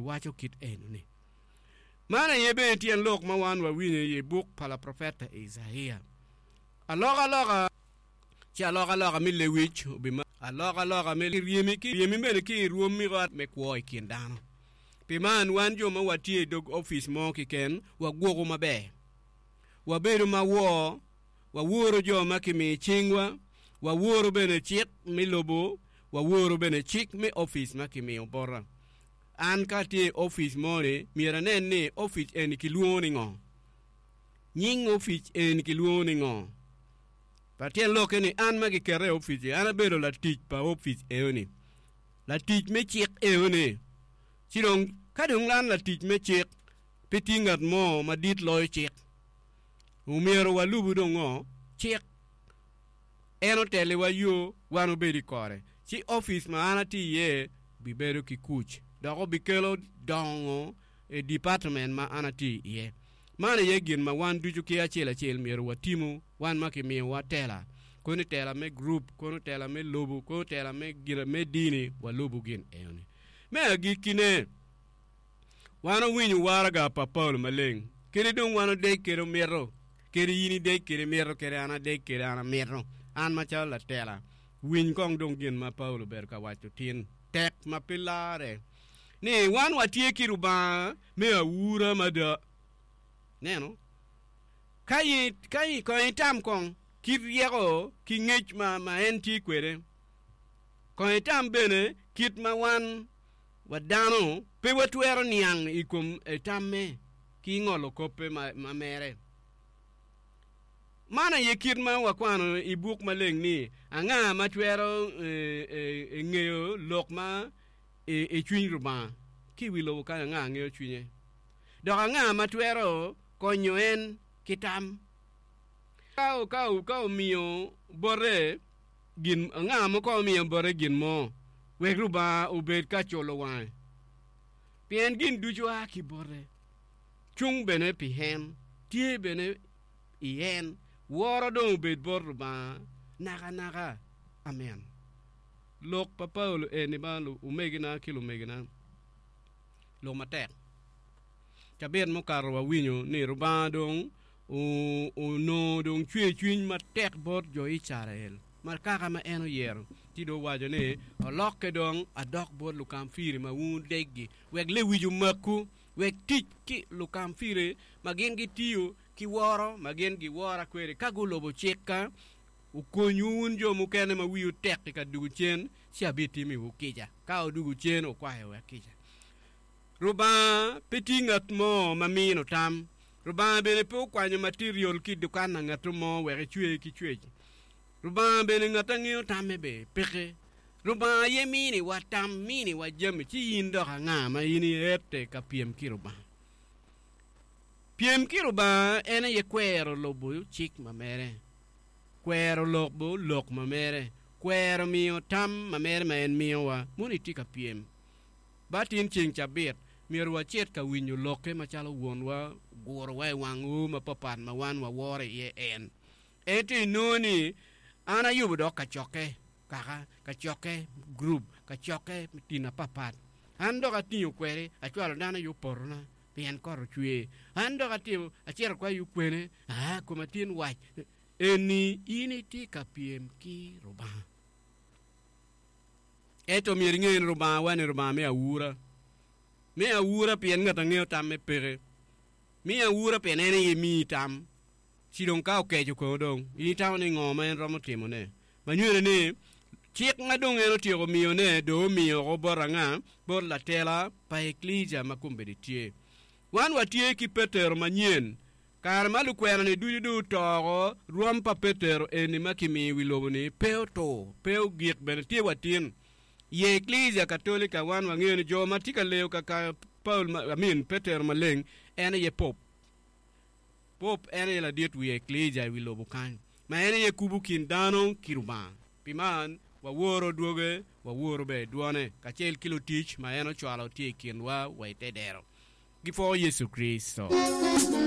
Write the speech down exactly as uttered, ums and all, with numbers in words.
waco kit eno-ni. Man aye bene tyen lok ma wan wawinyo i buk pa laprofeta Icaia. Alokaloka ci alokaloka me lewic obima alokaloka me ryemi ki ryemi bene ki i rwom me kwo i kin dano. Pi man wan jo ma watye i dog opic mo keken wagwoko maber. Wabedo ma wor, waworo jo ma kimiyo cingwa, waworo bene cik me lobo, waworo bene cik me opic ma kimiyo bota. An ka atye i opic mo-ni, myero anen ni opic eni kilwongo ni ngo? Nying opic eni kilwongo ni ngo? Pa tyen lokke ni an ma giketa i opic-ci, an abedo latic pa opic eno-ni, latic me cik eno-ni. Ci dong, ka dong an latic me cik, pe tye ngat mo madit loyo cik. Omyero walubu dong ngo? Cik. En otelliwa yo, wan obed i kore. Ci opic ma an atye iye bibedo ki kuc, dok obikelo dongo i department ma an atye iye. Man aye gin ma wan ducu ki acel acel myero watimu, wan ma kimiyowa tela, kono tela me gurup, kono tela me lobo, kono tela me gin me dini, walubu gin enoni. Me agikkine, wan owinyo waraga pa Paulo maleng, kadi dong wan odec kede omito, kadi in idec kede imito, kadi an adec kede an amito, an macalo latela, winy kong dong gin ma Paulo obedo ka waco tin, tek ma pe larre, ni wan watye ki Lubanga me aura mada. Neno, ka in, ka in, kong itam kong kit ryeko ki ngec ma, ma en tye kwede. Kong itam bene kit ma wan wa dano pe watwero niang i kom tamme ki ngolo koppe ma, ma mere. Man aye kit ma wakwano i buk maleng ni, Anga ma twero ngeyo lok ma i cwiny Lubanga? Ki i wi lobo kany anga ngeyo cwinye? Dok anga ma twero konyo en ki tam? Ka, ka, ka omiyo bote gin, anga ma kong omiyo bote gin mo, wek Lubanga obed ka culo wange? Pien gin ducu a ki bote, cung bene pi en, tye bene i en. Woro dong obed bot Lubanga nakanaka. Amen. Lok pa Paulo eni ba omegina ki lumegina, lok matek. Cabit mukato wawinyo ni Lubanga dong onongo dong cwer cwiny matek bot jo Icrael ma kaka ma en oyero, ci dong owaco ni, Olokke dong adok bot lukamfiri ma wun wudeggi, wek lewic omakwu, wek tic ki lukamfiri ma gin gitiyo ki woro ma gin giwora kwede ka gulubo cikka, okonywu wun jo mukene ma wiwu tek-ki ka dugo cen, ci abitimiwu kica. Ka wudugo cen, wukwayowa kica. Rubanga pe tye ngat mo ma mino tam. Rubanga bene pe okwanyo material ki i dukan na ngatto mo wek ecwe ki cwec. Rubanga bene ngat a ngeyo tamme be peke. Rubanga aye miniwa tam, miniwa jami, ci in dok anga ma in iette ka pyem ki Rubanga? Pyem ki Rubanga en aye kwero lubo cik ma mere, kwero lubo lok ma mere, kwero miyo tam ma mere ma en miyowa. Mono itye ka pyem? Ba tin ceng cabit, myero wacit ka winyo lokke macalo Wonwa ogurowa i wang oo mapapat ma wan waworo iye en. Ento inongo ni an ayubo dok kacokke kaka, kacokke gurup, kacokke tin apapat. An dok atingo kwede, acwalo dano i opotona pien kot ocwer. An dok atimo, acito kwa i okwene, aa, koma tin wac. Eni in itye ka pyem ki Rubanga. Ento myero inge ni Rubanga wa-ni Rubanga me aura. Me aura pien ngat a ngeyo tamme peke. Me aura pien en aye miyi tam. Ci dong ka okeco kono dong, in itamo ni ngo ma en romo timone? Ma nywene ni, cik ma dong en otyeko miyone dong omiyo oko bot anga? Bot latela pa Eklesia ma kombeddi tye. Wan watye ki Petero manyen. Kare ma lukwena-ni ducu dong oto oko, rwom pa Petero eni ma kimiyo i wi lobo-ni pe otur, pe ogik bene tye wa tin. I Eklesia Katolika wan wangeyo ni jo ma tye ka leyo kaka Paul, I mean, Petero Maleng en aye Pop. Pop en aye ladit wi Eklesia i wi lobo kany, ma en aye kubo kin dano ki Lubanga. Pi man, waworo dwoge, waworo bene dwone, kacel ki lutic ma en ocwalo tye i kinwa wa i te dero. Gipwo Yecu Kricito.